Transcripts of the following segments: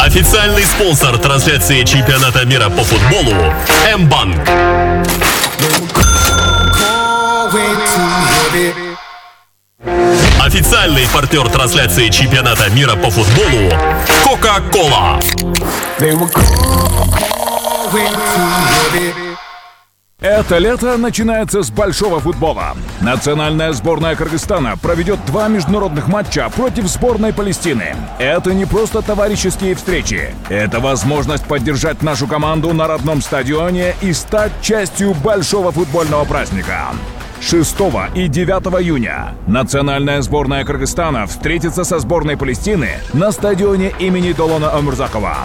Официальный спонсор трансляции чемпионата мира по футболу М-банк. Официальный партнер трансляции чемпионата мира по футболу Кока-Кола. Это лето начинается с большого футбола. Национальная сборная Кыргызстана проведет 2 международных матча против сборной Палестины. Это не просто товарищеские встречи. Это возможность поддержать нашу команду на родном стадионе и стать частью большого футбольного праздника. 6 и 9 июня национальная сборная Кыргызстана встретится со сборной Палестины на стадионе имени Долона Омурзакова.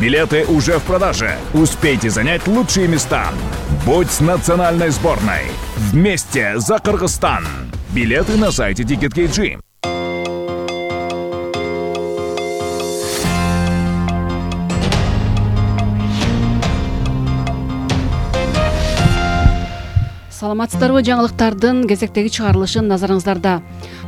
Билеты уже в продаже. Успейте занять лучшие места. Будь с национальной сборной. Вместе за Кыргызстан. Билеты на сайте Ticket.kg. Саламатсыздарбы, жаңылыктардын кезектеги чыгарылышын назарыңыздарда.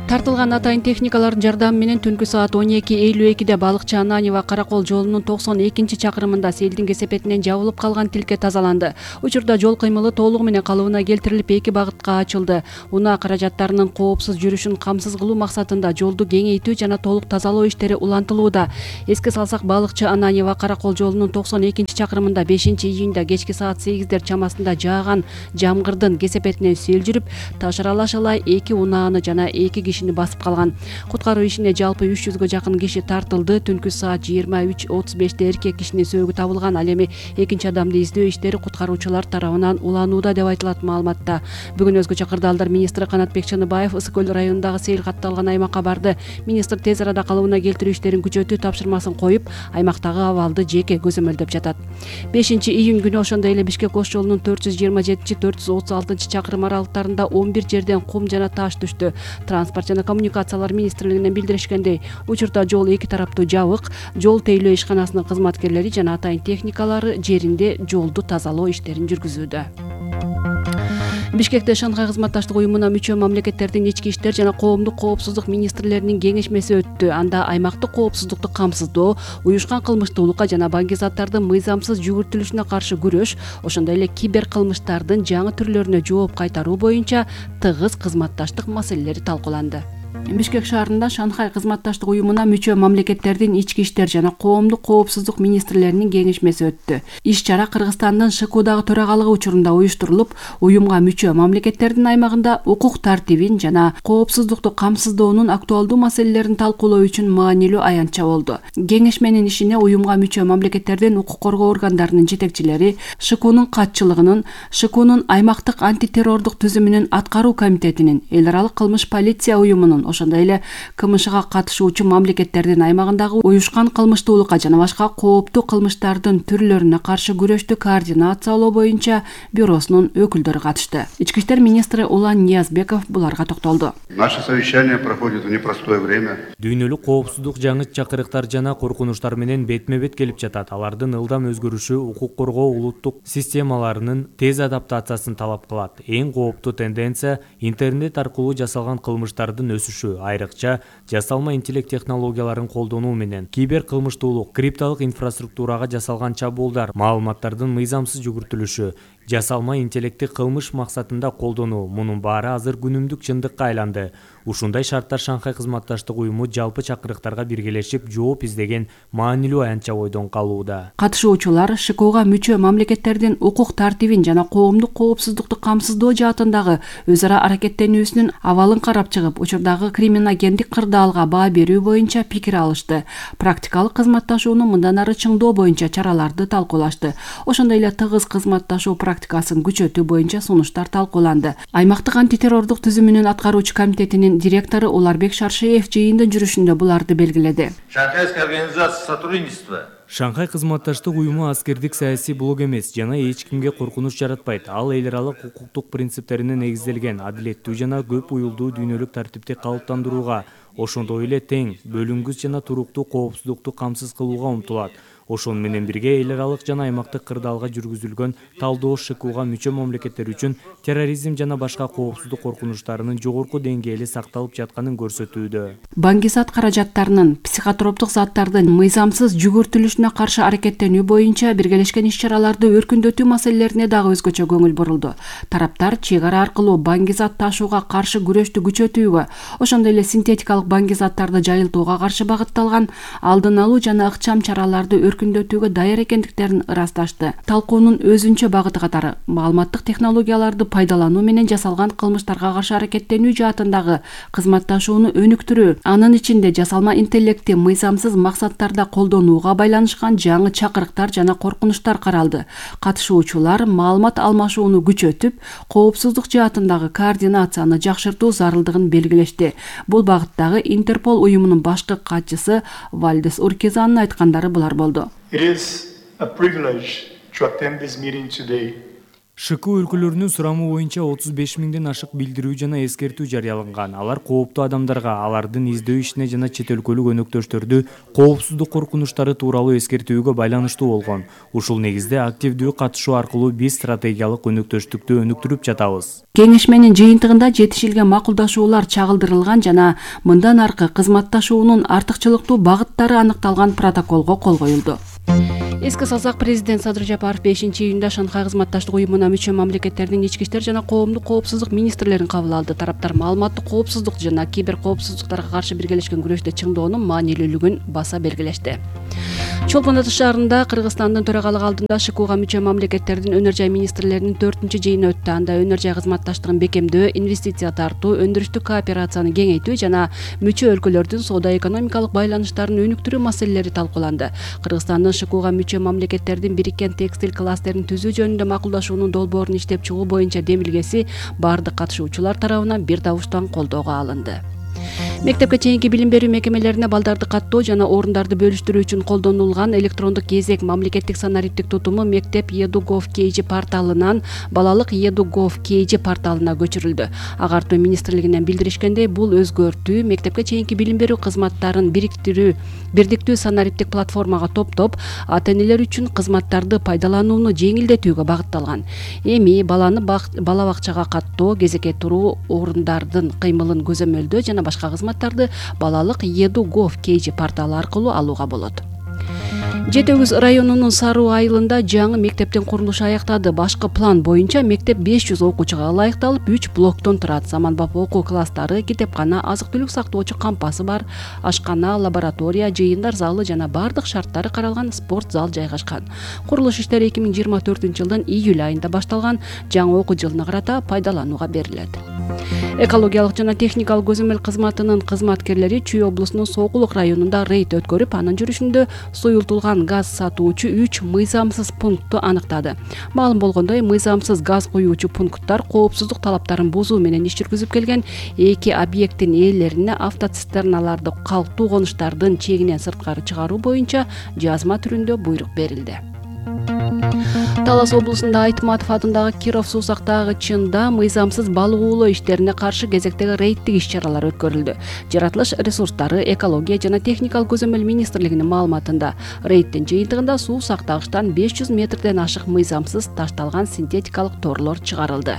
Тартылган атайын техникалардын жардамы менен түнкү саат 12:52 балыкчы Ананьева Каракол жолунун 92-чакырымында селдин кесепетинен жабылып калган тилке тазаланды. Учурда жол кыймылы толугу менен калыбына келтирилип, 2 багытка ачылды. Унаа каражаттарынын коопсуз жүрүшүн камсыз кылуу максатында жолду кеңейтүү жана толук тазалоо иштери улантылууда. Эске салсак, балыкчы Ананьева Каракол жолунун 92-чакырымында 5-июнда кечки саат 8 чамасында жааган жамгырдын кесепетинен сел жүрүп, таш аралашалай 2 унааны жана 2 кишини басып калган. Куткаруу ишине жалпы 300гө жакын киши тартылды. Түнкү саат 23:35 эркек кишинин сөөгү табылган. Ал эми экинчи адамды издөө иштери куткаруучулар тарабынан уланууда деп айтылат маалыматта. Бүгүн өзгөчө кырдаалдар министри Канатбек Чыныбаев Ысык көл районундагы сел катталган аймакка барды. Министр тез арада калыбына келтирүү иштерин күчөтүү тапшырмасын коюп, аймактагы абалды жеке көзөмөлдөп жатат. 5-июнь күнү ошондой эле Бишкек Ош жолунун 427-436-чакырым аралыктарында 11 жерден кум жана таш түштү. Транспорт жана коммуникациялар министрлигинен билдиришкендей, учурда жол 2 тараптуу жабык. Жол тейлөө ишканасынын кызматкерлери жана атайын техникалары жеринде жолду тазалоо иштерин жүргүзүүдө. Бишкекте Шанхай кызматташтык уюмуна мүчө мамлекеттердин ички иштер жана коомдук коопсуздук министрлеринин кеңешмеси өттү. Анда аймактык коопсуздукту камсыздоо, уюшкан кылмыштуулукка жана баңгизаттардын мыйзамсыз жүгүртүлүшүнө каршы күрөш, ошондой эле кибер кылмыштардын жаңы түрлөрүнө жооп кайтаруу боюнча тыгыз кызматташтык маселелери талкууланды. Бишкек шаарында Шанхай кызматташтык уюмуна мүчө мамлекеттердин ички иштер жана коомдук коопсуздук министрлеринин кеңешмеси өттү. Иш-чара Кыргызстандын ШКУдагы төрагалыгы учурунда уюштурулуп, уюмга мүчө мамлекеттердин аймагында укук тартибин жана коопсуздукту камсыздоонун актуалдуу маселелерин талкуулоо үчүн маанилүү аянтча болду. Кеңешменин ишине уюмга мүчө мамлекеттердин укук коргоо органдарынын жетекчилери, ШКУнун катчылыгынын, ШКУнун аймактык антитеррордук түзүмүнүн аткаруу комитетинин, эл аралык кылмыш полиция уюмунун, ошондой эле КМШга катышуучу мамлекеттердин аймагындагы уюшкан кылмыштуулукка жана башка кооптуу кылмыштардын түрлөрүнө каршы күрөштү координациялоо боюнча бюросунун өкүлдөрү катышты. Ички иштер министри Улан Ниязбеков буларга токтолду. Наше совещание проходит в непростое время. Дүйнөлүк коопсуздук жаңы чакырыктар жана коркунучтар менен бетме-бет келип жатат. Алардын ылдам өзгөрүшү укук коргоо улуттук системаларынын тез адаптациясын талап кылат. Эң кооптуу тенденция интернет аркылуу жасалган кылмыштардын өсүшү, айрыкча жасалма интеллект технологияларын колдонуу менен кибер кылмыштуулук, крипталык инфраструктурага жасалган чабуулдар, маалыматтардын мыйзамсыз жүгүртүлүшү, жасалма интеллектти кылмыш максатында колдонуу, мунун баары азыр күнүмдүк чындыкка айланды. Ушундай шарттар Шанхай кызматташтык уюму жалпы чакырыктарга биргелешип жооп издеген маанилүү аянтча бойдон калууда. Катышуучулар ШКУга мүчө мамлекеттердин укук тартибин жана коомдук коопсуздукту камсыздоо жаатындагы өз ара аракеттенүүсүнүн абалын карап чыгып, учурдагы криминогендик кырдаалга баа берүү боюнча пикир алышты. Практикалык кызматташууну мындан ары чыңдоо боюнча чараларды талкуулашты. Ошондой эле тыгыз кызматташуу практикасын күчөтүү боюнча сунуштар талкууланды. Аймактык антитеррордук түзүмүнүн аткаруучу комитетинин директору Уларбек Шаршеев жыйындын жүрүшүндө буларды белгиледи. Шанхайская организация сотрудничества. Шанхай кызматташтык уюму аскердик саясий блок эмес жана эч кимге коркунуч жаратпайт. Ал эл аралык укуктук принциптерине негизделген адилеттүү жана көп уюлдуу дүйнөлүк тартипти калыптандырууга, ошондой эле тең, бөлүнгүс жана туруктуу коопсуздукту камсыз кылууга умтулат. Ошону менен бирге эл аралык жана аймактык кырдаалга жүргүзүлгөн талдоо ШКУга мүчө мамлекеттер үчүн терроризм жана башка коопсуздук коркунучтарынын жогорку деңгээли сакталып жатканын көрсөтүүдө. Баңгизат каражаттарынын психотроптук заттардын мыйзамсыз жүгүртүлүшүнө каршы аракеттенүү боюнча биргелешкен иш-чараларды өркүндөтүү маселелерине дагы өзгөчө көңүл бурулду. Тараптар чек ара аркылуу баңгизат ташууга каршы күрөштү күчөтүүгө, ошондой эле синтетикалык баңгизаттарды жайылтууга каршы багытталган алдын алуу жана ыкчам чараларды өркүндөтүүгө даяр экендиктерин ырасташты. Талкуунун өзүнчө багыты катары маалыматтык технологияларды пайдалануу менен жасалган кылмыштарга каршы аракеттенүү жаатындагы кызматташууну өнүктүрүү, анын ичинде жасалма интеллекти мыйзамсыз максаттарда колдонууга байланышкан жаңы чакырыктар жана коркунучтар каралды. Катышуучулар маалымат алмашууну күчөтүп, коопсуздук жаатындагы координацияны жакшыртуу зарылдыгын белгилешти. Бул багыттагы Интерпол уюмунун башкы катчысы Вальдес Уркизанын айткандары булар болду. It is a privilege to attend this meeting today. ШКУ өлкөлөрүнүн сурамы боюнча 35 миңден ашык билдирүү жана эскертүү жарыяланган. Алар кооптуу адамдарга, алардын издөө ишине жана чет өлкөлүк өнөктөштөрдү коопсуздук коркунучтары тууралуу эскертүүгө байланыштуу болгон. Ушул негизде активдүү катышуу аркылуу биз стратегиялык өнөктөштүктү өнүктүрүп жатабыз. Кеңешменин жыйынтыгында жетишилген макулдашуулар чагылдырылган жана мындан аркы кызматташуунун артыкчылыктуу багыттары аныкталган протоколго кол коюлду. Эске салсак, президент Садыр Жапаров 5-июнда Шанхай кызматташтык уюмуна мүчө мамлекеттердин ички иштер жана коомдук коопсуздук министрлерин кабыл алды. Тараптар маалыматтык коопсуздук жана кибер коопсуздуктарга каршы биргелешкен күрөштө чыңдоонун маанилүүлүгүн баса белгилешти. Чолпон Ата шаарында Кыргызстандын төрагалыгы алдында ШКУга мүчө мамлекеттердин өнөр жай министрлеринин 4-жыйыны өттү. Анда өнөр жай кызматташтыгын бекемдөө, инвестиция тартуу, өндүрүштүк кооперацияны кеңейтүү жана мүчө өлкөлөрдүн соода-экономикалык байланыштарын өнүктүрүү маселелери талкууланды. Кыргызстандын ШКУга мүчө мамлекеттердин бириккен текстиль кластерин түзүү жөнүндө макулдашуунун долбоорун иштеп чыгуу боюнча демилгеси бардык катышуучулар тарабынан бир табыштан колдоого алынды. Мектепке чейинки билим берүү мекемелерине балдарды каттоо жана орундарды бөлүштүрүү үчүн колдонулган электрондук кезек мамлекеттик санариптик тутуму Мектеп Edu.gov.kg порталынан балалык Edu.gov.kg порталына көчүрүлдү. Агартуу министрлигинен билдиришкендей, бул өзгөртүү мектепке чейинки билим берүү кызматтарын бирдиктүү санариптик платформага топтоп, ата-энелер үчүн кызматтарды пайдаланууну жеңилдетүүгө багытталган. Эми баланы бала бакчага каттоо, кезекке туруу орундардын кыймылын көзөмөлдөө жана башка кызматтарды балалык Edu.gov.kg порталы аркылуу алууга болот. Жети Өгүз районунун Саруу айылында жаңы мектептин курулушу аяктады. Башкы план боюнча мектеп 500 окуучуга ылайыкталып, 3 блоктон турат. Заманбап окуу класстары, китепкана, азык-түлүк сактоочу кампасы бар, ашкана, лаборатория, жыйындар залы жана бардык шарттары каралган спорт зал жайгашкан. Курулуш иштери 2024-жылдын июль айында башталган. Жаңы окуу жылына карата пайдаланууга берилет. Экологиялык жана техникалык көзөмөл кызматынын кызматкерлери Чүй облусунун Сокулук районунда рейд өткөрүп, анын жүрүшүндө суюлтулган газ сатуучу 3 мыйзамсыз пунктту аныктады. Маалым болгондой, мыйзамсыз газ куюучу пункттар коопсуздук талаптарын бузуу менен иш жүргүзүп келген 2 объекттин ээлерине автоцистерналарды калктуу конуштардын чегинен сырткары чыгаруу боюнча жазма түрүндө буйрук берилди. Талас облусунда Айтматов атындагы Киров суу сактагычында мыйзамсыз балык уулоо иштерине каршы кезектеги рейдтик иш-чаралар өткөрүлдү. Жаратылыш ресурстары, экология жана техникалык көзөмөл министрлигинин маалыматында, рейдтин жыйынтыгында суу сактагычтан 500 метрден ашык мыйзамсыз ташталган синтетикалык торлор чыгарылды.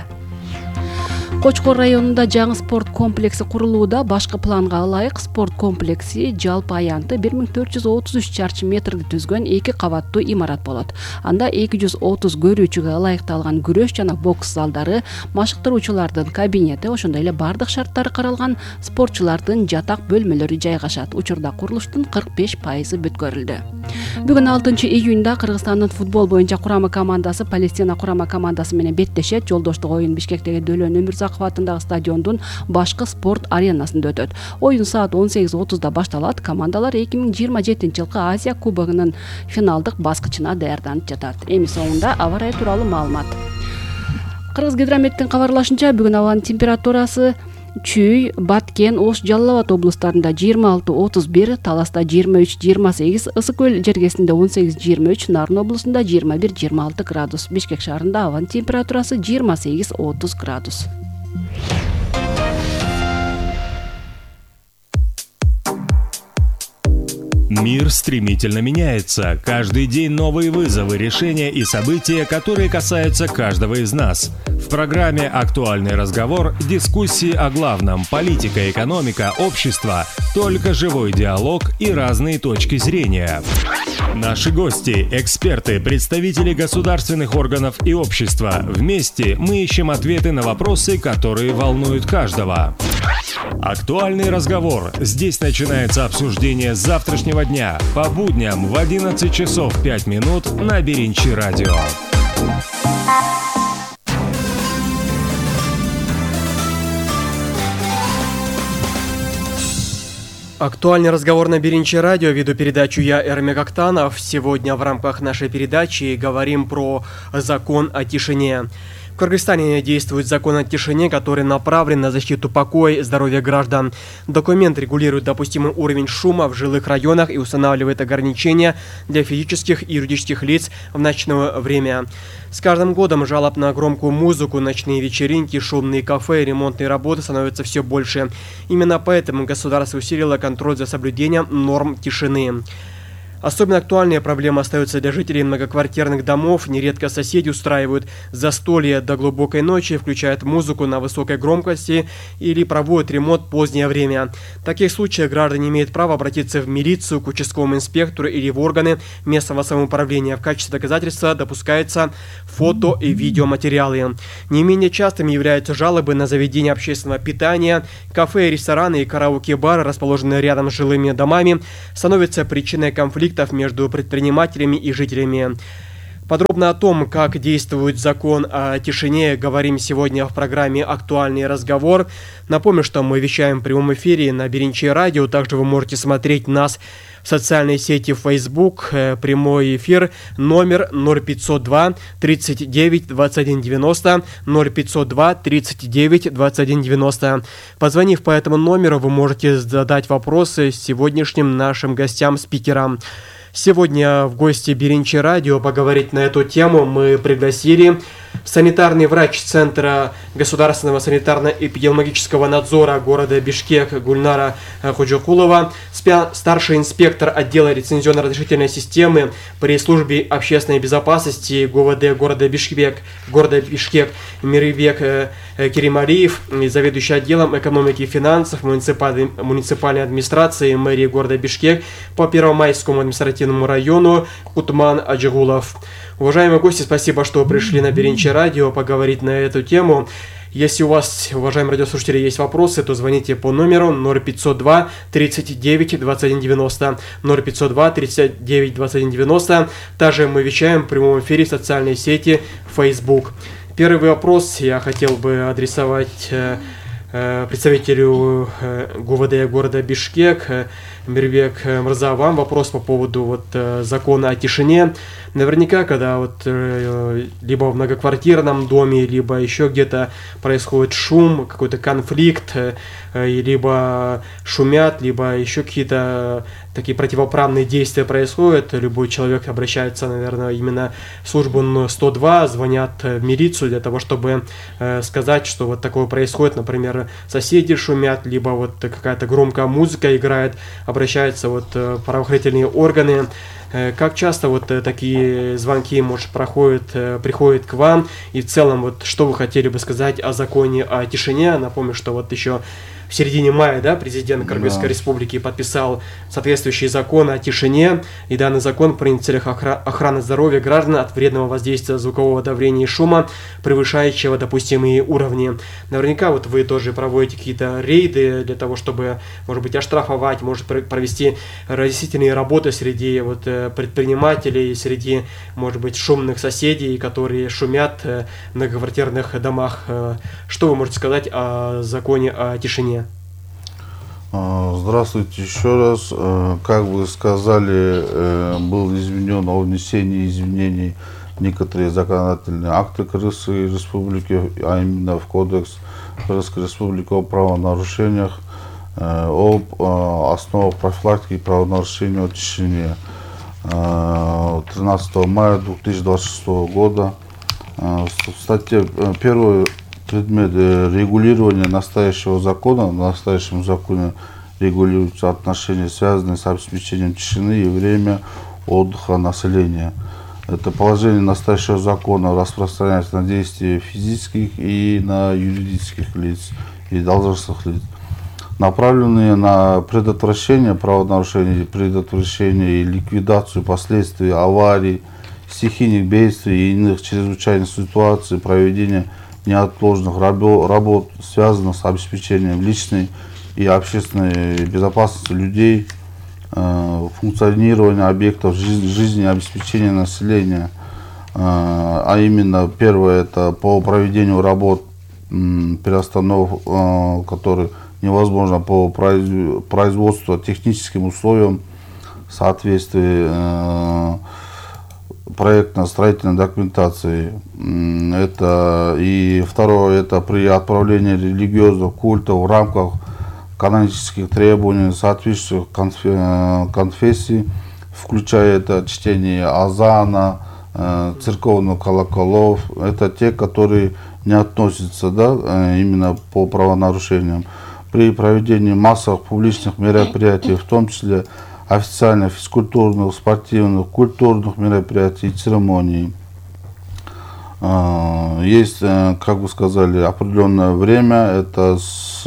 Кочкор районунда жаңы спорт комплекси курулууда. Башкы планга ылайык спорт комплекси жалпы аянты 1433 чарчы метрди түзгөн 2 кабаттуу имарат болот. Анда 230 көрүүчүгө ылайыкталган күрөш жана бокс залдары, машыктыруучулардын кабинети, ошондой эле бардык шарттары каралган спортчулардын жатак бөлмөлөрү жайгашат. Учурда курулуштун 45% бүткөрүлдү. Бүгүн 6 июнда Кыргызстандын футбол боюнча курама командасы Палестина курама командасы менен беттешет. Жолдоштук оюн Бишкектеги Дөлөн Өмүрзаков атындагы стадиондун башкы спорт аренасында өтөт. Оюн саат 18:30 башталат. Командалар 2027-жылкы Азия кубогунун финалдык баскычына даярданып жатат. Эми соңунда аба ырайы тууралуу маалымат. Кыргыз гидрометтин кабарлашынча, бүгүн абанын температурасы Чүй, Баткен, Ош, Жалал Абад облустарында 26-31, Таласта 23-28, Ысык көл жергесинде 18-23, Нарын облусунда 21-26 градус. Бишкек шаарында абанын температурасы 28-30 градус. Мир стремительно меняется. Каждый день новые вызовы, решения и события, которые касаются каждого из нас. В программе «Актуальный разговор» дискуссии о главном – политика, экономика, общество, только живой диалог и разные точки зрения. Наши гости – эксперты, представители государственных органов и общества. Вместе мы ищем ответы на вопросы, которые волнуют каждого. «Актуальный разговор». Здесь начинается обсуждение завтрашнего дня по будням в 11 часов 5 минут на Беринчи радио. Актуальный разговор на Беринчи радио. Веду передачу я, Эрмек Актанов. Сегодня в рамках нашей передачи говорим про закон о тишине. В Кыргызстане действует закон о тишине, который направлен на защиту покоя и здоровья граждан. Документ регулирует допустимый уровень шума в жилых районах и устанавливает ограничения для физических и юридических лиц в ночное время. С каждым годом жалоб на громкую музыку, ночные вечеринки, шумные кафе и ремонтные работы становятся все больше. Именно поэтому государство усилило контроль за соблюдением норм тишины. Особенно актуальная проблема остается для жителей многоквартирных домов. Нередко соседи устраивают застолья до глубокой ночи, включают музыку на высокой громкости или проводят ремонт в позднее время. В таких случаях граждане имеют право обратиться в милицию, к участковому инспектору или в органы местного самоуправления. В качестве доказательства допускаются фото и видеоматериалы. Не менее частыми являются жалобы на заведения общественного питания. Кафе, рестораны и караоке-бары, расположенные рядом с жилыми домами, становятся причиной конфликта между предпринимателями и жителями. Подробно о том, как действует закон о тишине, говорим сегодня в программе «Актуальный разговор». Напомню, что мы вещаем в прямом эфире на Беринчи радио. Также вы можете смотреть нас в социальной сети Facebook. Прямой эфир номер 0502 39 21 90 0502 39 21 90. Позвонив по этому номеру, вы можете задать вопросы сегодняшним нашим гостям-спикерам. Сегодня в гости Беринчи радио поговорить на эту тему мы пригласили санитарный врач Центра государственного санитарно-эпидемиологического надзора города Бишкек Гульнара Ходжокулова, старший инспектор отдела лицензионно-разрешительной системы при службе общественной безопасности ГУВД города Бишкек Мирбек Керималиев, заведующий отделом экономики и финансов муниципальной администрации мэрии города Бишкек по Первомайскому административному району Кутман Аджигулов. Уважаемые гости, спасибо, что пришли на Беринчи радио поговорить на эту тему. Если у вас, уважаемые радиослушатели, есть вопросы, то звоните по номеру 0502 39 21 90 0502 39 21 90. Также мы вещаем в прямом эфире в социальной сети Facebook. Первый вопрос я хотел бы адресовать представителю ГУВД города Бишкек. Мирбек Мырза, вам вопрос по поводу закона о тишине. Наверняка, когда либо в многоквартирном доме, либо еще где-то происходит шум, какой-то конфликт, либо шумят, либо еще какие-то такие противоправные действия происходят, любой человек обращается, наверное, именно в службу 102, звонят в милицию для того, чтобы сказать, что вот такое происходит, например, соседи шумят, либо какая-то громкая музыка играет, обращаются правоохранительные органы. Как часто такие звонки, может, приходят к вам? И в целом, что вы хотели бы сказать о законе о тишине? Напомню, что еще в середине мая, президент Кыргызской республики подписал соответствующий закон о тишине, и данный закон принят в целях охраны здоровья граждан от вредного воздействия звукового давления и шума, превышающего допустимые уровни. Наверняка вы тоже проводите какие-то рейды для того, чтобы, может быть, оштрафовать, может провести разъяснительные работы среди предпринимателей, среди, может быть, шумных соседей, которые шумят в многоквартирных домах. Что вы можете сказать о законе о тишине? Здравствуйте еще раз. Как вы сказали, был изменен о внесении изменений в некоторые законодательные акты Кыргызской республики, а именно в Кодекс Кыргызской республики о правонарушениях, об основах профилактики правонарушений о тишине. 13 мая 2026 года в статье 1 предмет регулирования настоящего закона. В настоящем законе регулируются отношения, связанные с обеспечением тишины и время отдыха населения. Это положение настоящего закона распространяется на действия физических и на юридических лиц и должностных лиц, направленные на предотвращение правонарушений, предотвращение и ликвидацию последствий аварий, стихийных бедствий и иных чрезвычайных ситуаций, проведение неотложных работ, связанных с обеспечением личной и общественной безопасности людей, функционирование объектов жизнеобеспечения населения, а именно первое это по проведению работ перестановок, которые невозможно по производству техническим условиям в соответствии проектно-строительной документации. Это и второе это при отправлении религиозных культов в рамках канонических требований соответствующих конфессий, включая это чтение азана, церковных колоколов, это те, которые не относятся именно по правонарушениям. При проведении массовых публичных мероприятий, в том числе официальных, физкультурных, спортивных, культурных мероприятий и церемоний. Есть, как вы сказали, определенное время, это с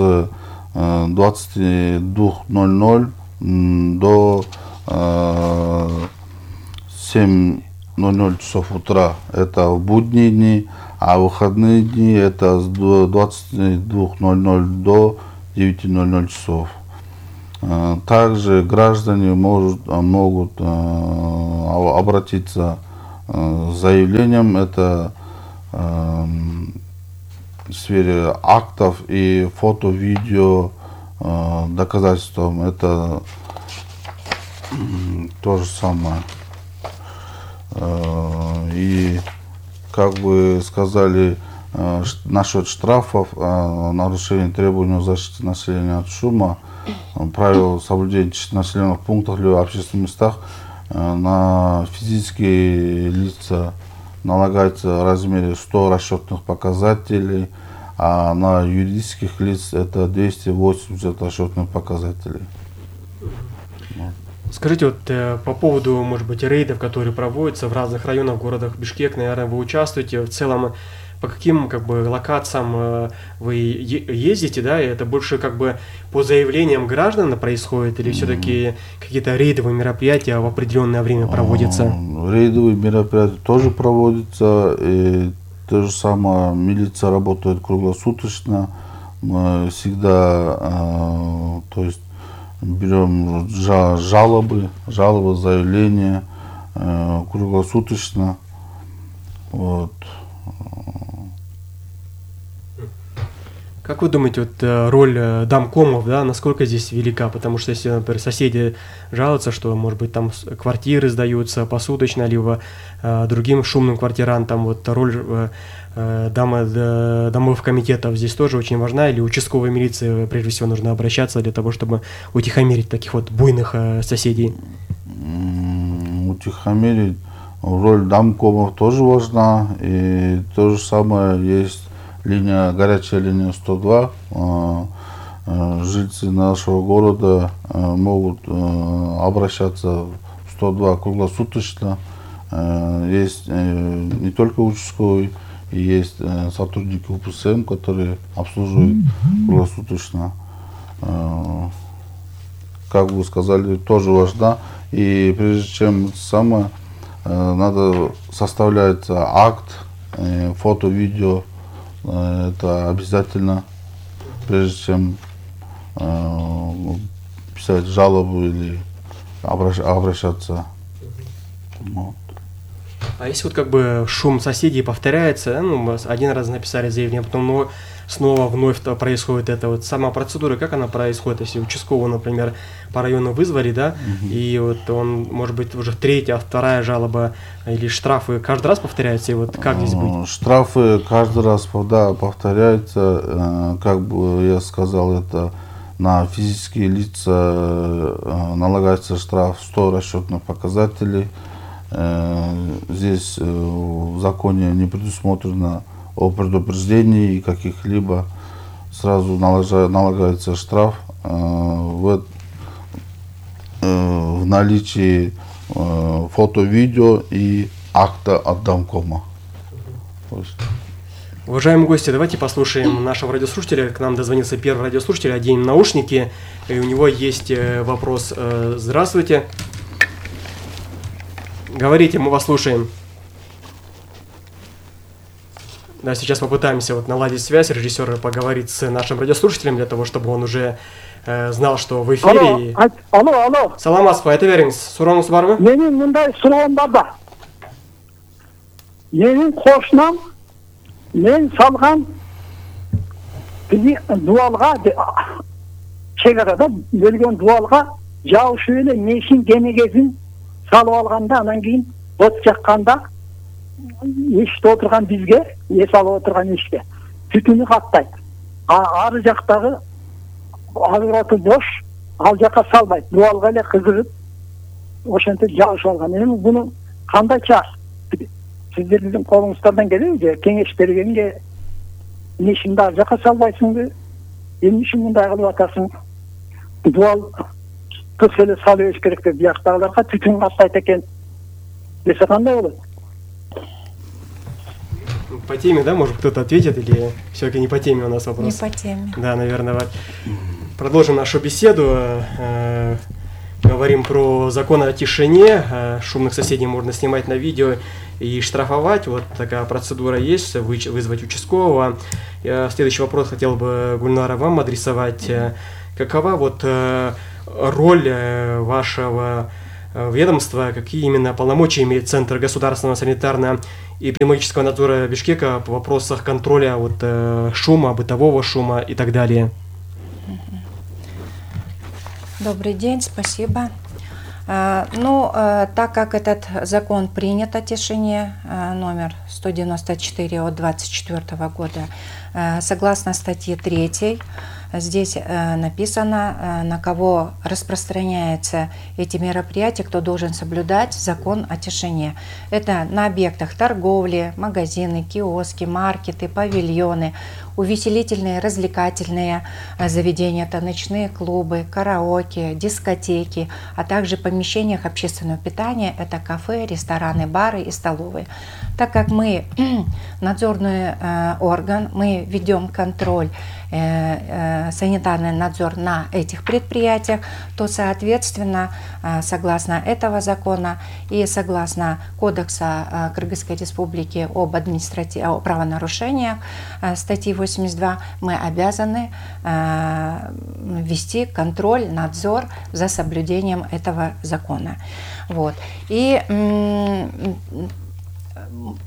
22:00 до 7:00 часов утра. Это в будние дни, а в выходные дни это с 22:00 до 9:00 часов. Также граждане могут обратиться с заявлением, это в сфере актов и фото-видео доказательством, это то же самое. И как вы сказали, насчет штрафов, нарушение требований защиты населения от шума, правил соблюдения тишины в населенных пунктах или в общественных местах на физические лица налагается в размере 100 расчетных показателей, а на юридических лиц это 280 расчетных показателей. Скажите, вот по поводу, может быть, рейдов, которые проводятся в разных районах, городах Бишкек, наверное, вы участвуете. В целом, по каким локациям вы ездите, да? И это больше по заявлениям граждан происходит, или все-таки какие-то рейдовые мероприятия в определенное время проводятся? Рейдовые мероприятия тоже проводятся. И то же самое, милиция работает круглосуточно. Мы всегда, то есть берем жалобы, заявления круглосуточно. Вот. Как вы думаете, роль домкомов, насколько здесь велика? Потому что если, например, соседи жалуются, что, может быть, там квартиры сдаются посуточно, либо другим шумным квартирантам, роль домовых комитетов здесь тоже очень важна, или участковой милиции прежде всего нужно обращаться для того, чтобы утихомирить таких буйных соседей? Утихомирить, роль домкомов тоже важна, и то же самое есть горячая линия 102. Жильцы нашего города могут обращаться в 102 круглосуточно. Есть не только участковый, и есть сотрудники УПСМ, которые обслуживают круглосуточно. Как вы сказали, тоже важно. И прежде чем надо составлять акт, фото, видео. Это обязательно, прежде чем писать жалобу или обращаться. Вот. А если шум соседей повторяется, один раз написали заявление, потом снова вновь происходит это, сама процедура, как она происходит, если участкового, например, по району вызвали, и он, может быть, уже третья, вторая жалоба или штрафы каждый раз повторяются, и как здесь быть? Штрафы каждый раз, повторяются, как бы я сказал, это на физические лица налагается штраф 100 расчетных показателей. Здесь в законе не предусмотрено о предупреждении каких-либо, сразу налагается штраф в наличии фото, видео и акта от Домкома. Уважаемые гости, давайте послушаем нашего радиослушателя. К нам дозвонился первый радиослушатель, оденем наушники, и у него есть вопрос. Здравствуйте. Говорите, мы вас слушаем. Да, сейчас попытаемся наладить связь, режиссер поговорит с нашим радиослушателем для того, чтобы он уже знал, что в эфире. Алло. Саламатсызбы, айта бериңиз. Сурооңуз барбы? Менин мындай суроом бар да. Менин кошунам мен салган дуалга, чек арада бөлгөн дуалга жабышып эле мешин кенегесин салып алганда, анан кийин от жакканда эшикте отурган бизге, эс алып отурган эшикте түтүнү каттайт. Ары жактагы алгыраты бош, ал жакка салбайт. Дуалга эле кызыгып ошентип жабышып алган. Эми буну кандай чар? Сиздердин колуңуздардан келеби же кеңеш бергенге мешинди ар жакка салбайсыңбы? Эмне үчүн мындай кылып атасың? Дуал кыз эле салып бериш керек деп бияктагыларга түтүн каттайт экен десе кандай болот? По теме, да, может кто-то ответит, или все-таки не по теме у нас вопрос? Не по теме. Да, наверное. Продолжим нашу беседу. Говорим про закон о тишине. Шумных соседей можно снимать на видео и штрафовать. Вот такая процедура есть, вызвать участкового. Следующий вопрос хотел бы, Гульнара, вам адресовать. Какова роль вашего ведомства, какие именно полномочия имеет Центр государственного санитарно-эпидемиологического надзора Бишкека в вопросах контроля шума, бытового шума и так далее? Добрый день, спасибо. Так как этот закон принят о тишине, номер 194 от 24 года, согласно статье 3, здесь написано, на кого распространяются эти мероприятия, кто должен соблюдать закон о тишине. Это на объектах торговли, магазины, киоски, маркеты, павильоны, увеселительные, развлекательные заведения, это ночные клубы, караоке, дискотеки, а также в помещениях общественного питания, это кафе, рестораны, бары и столовые. Так как мы надзорный орган, мы ведем контроль, санитарный надзор на этих предприятиях, то, соответственно, согласно этого закона и согласно Кодекса Кыргызской Республики об административных правонарушениях, статьи 82, мы обязаны вести контроль, надзор за соблюдением этого закона. И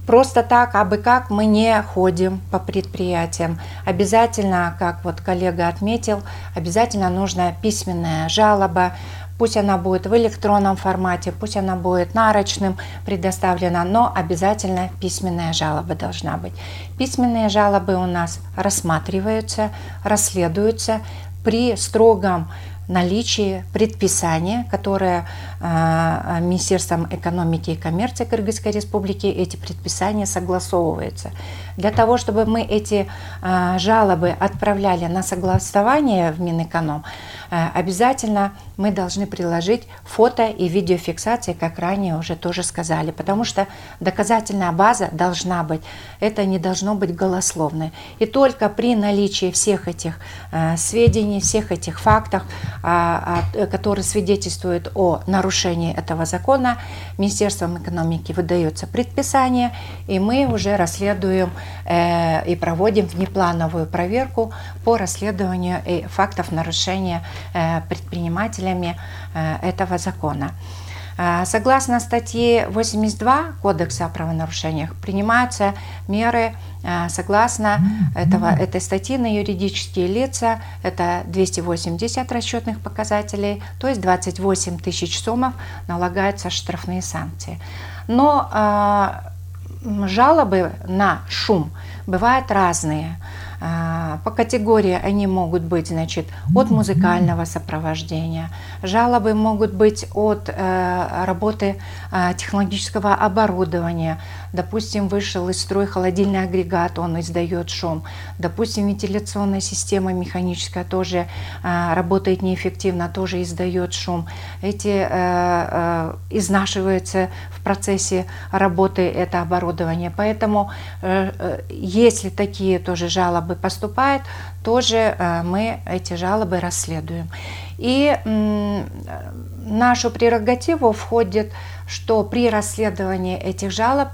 просто так, абы как, мы не ходим по предприятиям. Обязательно, как коллега отметил, обязательно нужна письменная жалоба. Пусть она будет в электронном формате, пусть она будет нарочным предоставлена, но обязательно письменная жалоба должна быть. Письменные жалобы у нас рассматриваются, расследуются при строгом наличии предписания, которое Министерством экономики и коммерции Кыргызской Республики, эти предписания согласовываются. Для того, чтобы мы эти жалобы отправляли на согласование в Минэконом, обязательно мы должны приложить фото и видеофиксации, как ранее уже тоже сказали, потому что доказательная база должна быть, это не должно быть голословно. И только при наличии всех этих сведений, всех этих фактов, которые свидетельствуют о нарушении этого закона, Министерством экономики выдается предписание, и мы уже расследуем и проводим внеплановую проверку по расследованию фактов нарушения предпринимателями этого закона. Согласно статье 82 Кодекса о правонарушениях принимаются меры согласно этой статьи на юридические лица, это 280 расчетных показателей, то есть 28 тысяч сомов налагаются штрафные санкции. Но жалобы на шум бывают разные. По категории они могут быть, значит, от музыкального сопровождения. Жалобы могут быть от работы технологического оборудования. Допустим, вышел из строя холодильный агрегат, он издает шум. Допустим, вентиляционная система механическая тоже работает неэффективно, тоже издает шум. Эти изнашиваются в процессе работы это оборудование. Поэтому, если такие тоже жалобы поступают, тоже мы эти жалобы расследуем. И нашу прерогативу входит, что при расследовании этих жалоб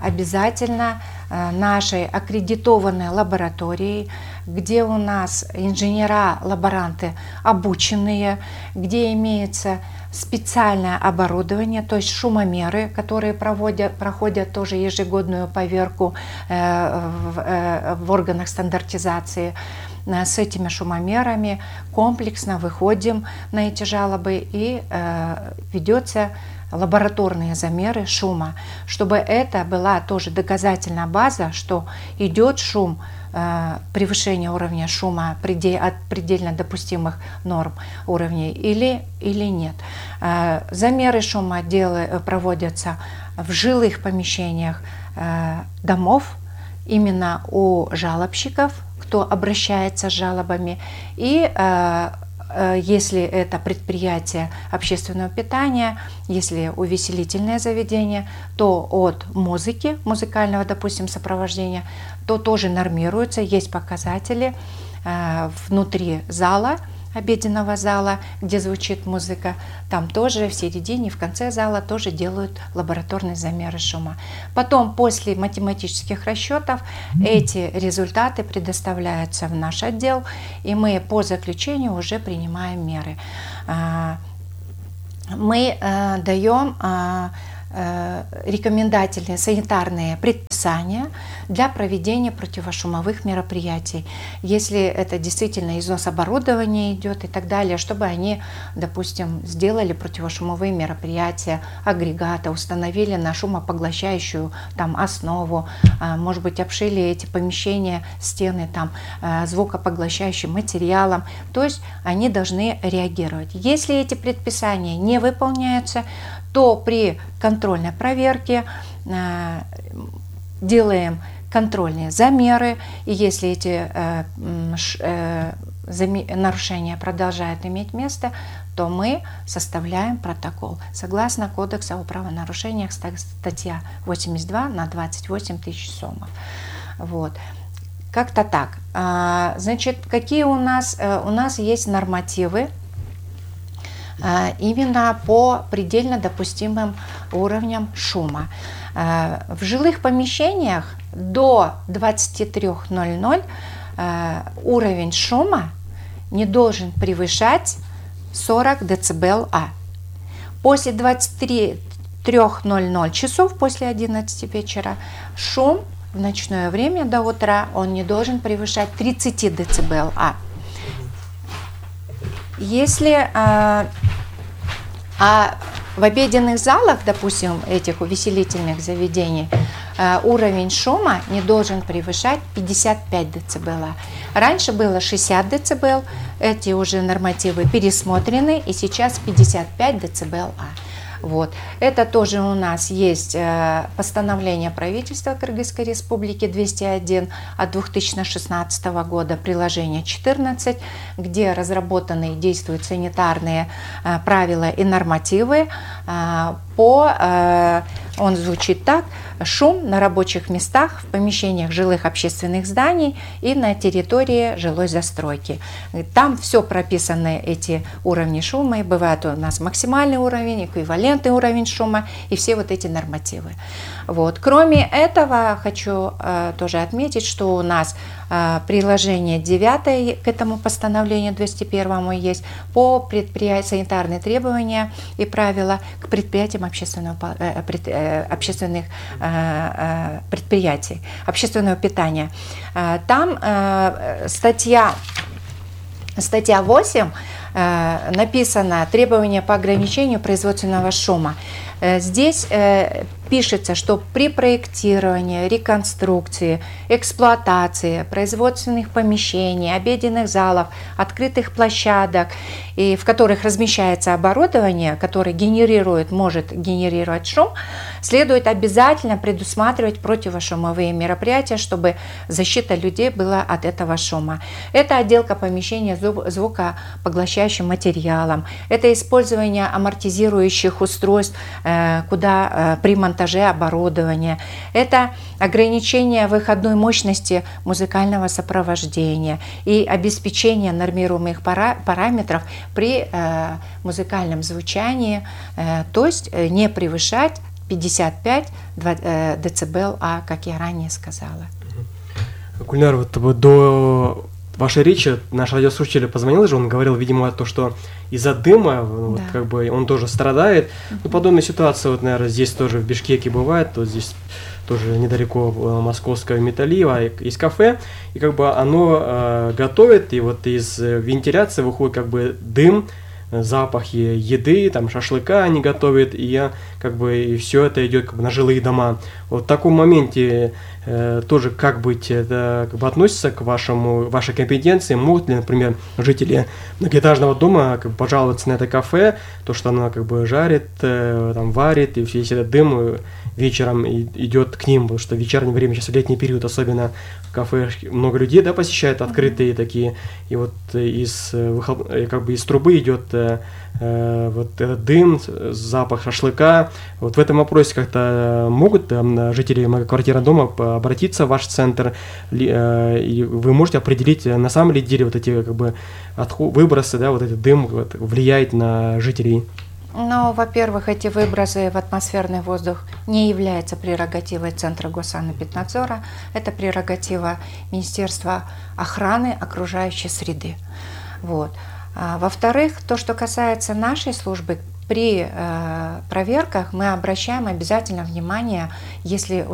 обязательно нашей аккредитованной лабораторией, где у нас инженера-лаборанты обученные, где имеется специальное оборудование, то есть шумомеры, которые проходят тоже ежегодную поверку в органах стандартизации. С этими шумомерами комплексно выходим на эти жалобы и ведется лабораторные замеры шума, чтобы это была тоже доказательная база, что идет шум, превышение уровня шума от предельно допустимых норм уровней или нет. Замеры шума проводятся в жилых помещениях домов, именно у жалобщиков, кто обращается с жалобами, и если это предприятие общественного питания, если увеселительное заведение, то от музыки, музыкального, допустим, сопровождения, то тоже нормируется, есть показатели внутри зала, обеденного зала, где звучит музыка, там тоже в середине, в конце зала тоже делают лабораторные замеры шума. Потом, после математических расчетов, эти результаты предоставляются в наш отдел, и мы по заключению уже принимаем меры. Мы даем рекомендательные санитарные предписания для проведения противошумовых мероприятий. Если это действительно износ оборудования идет и так далее, чтобы они, допустим, сделали противошумовые мероприятия, агрегаты, установили на шумопоглощающую там основу, может быть, обшили эти помещения, стены там звукопоглощающим материалом. То есть они должны реагировать. Если эти предписания не выполняются, то при контрольной проверке делаем контрольные замеры, и если эти нарушения продолжают иметь место, то мы составляем протокол. Согласно Кодексу о правонарушениях, статья 82 на 28 тысяч сомов. Вот. Как-то так. Значит, какие у нас есть нормативы именно по предельно допустимым уровням шума. В жилых помещениях до 23:00 уровень шума не должен превышать 40 дБ. После 23:00 часов, после 11 вечера, шум в ночное время до утра он не должен превышать 30 дБ. Если в обеденных залах, допустим, этих увеселительных заведений, уровень шума не должен превышать 55 дБ. Раньше было 60 дБ, эти уже нормативы пересмотрены, и сейчас 55 дБ. Вот. Это тоже у нас есть постановление правительства Кыргызской Республики 201 от 2016 года, приложение 14, где разработаны и действуют санитарные правила и нормативы. Он звучит так: шум на рабочих местах, в помещениях жилых общественных зданий и на территории жилой застройки. Там все прописаны, эти уровни шума, и бывает у нас максимальный уровень, эквивалентный уровень шума и все вот эти нормативы. Вот. Кроме этого, хочу тоже отметить, что у нас приложение 9 к этому постановлению 201 есть по предприятиям, санитарные требования и правила к предприятиям общественных предприятий, общественного питания. Там статья 8 написано «Требования по ограничению производственного шума». Здесь пишется, что при проектировании, реконструкции, эксплуатации производственных помещений, обеденных залов, открытых площадок, и в которых размещается оборудование, которое может генерировать шум, следует обязательно предусматривать противошумовые мероприятия, чтобы защита людей была от этого шума. Это отделка помещения звукопоглощающим материалом, это использование амортизирующих устройств, куда при монтаже оборудования, это ограничение выходной мощности музыкального сопровождения и обеспечение нормируемых параметров при музыкальном звучании, то есть не превышать 55 дБ, как я ранее сказала. Гульнар, вот до вашей речи наш радиослушатель позвонил же, он говорил, видимо, то, что из-за дыма, вот, как бы он тоже страдает. Ну, подобная ситуация, вот, наверное, здесь тоже в Бишкеке бывает, вот здесь тоже недалеко московского Металлиева есть кафе, и как бы оно готовит, и вот из вентиляции выходит как бы дым, запахи еды, там шашлыка они готовят, и как бы и все это идет как бы на жилые дома. Вот в таком моменте тоже как быть, это как бы относится к вашей компетенции? Могут ли, например, жители многоэтажного дома как бы пожаловаться на это кафе, то, что оно как бы жарит, там варит, и весь этот дым вечером идет к ним, потому что в вечернее время, сейчас в летний период особенно, в кафе много людей, да, посещают, открытые такие, и вот из трубы идет вот этот дым, запах шашлыка. Вот в этом вопросе как-то могут жители многоквартирного дома обратиться в ваш центр, и вы можете определить, на самом ли деле вот эти как бы выбросы, да, вот этот дым вот, влияет на жителей? Ну, во-первых, эти выбросы в атмосферный воздух не являются прерогативой Центра Госсанэпиднадзора, это прерогатива Министерства охраны окружающей среды. Вот. Во-вторых, то, что касается нашей службы, при проверках мы обращаем обязательно внимание, если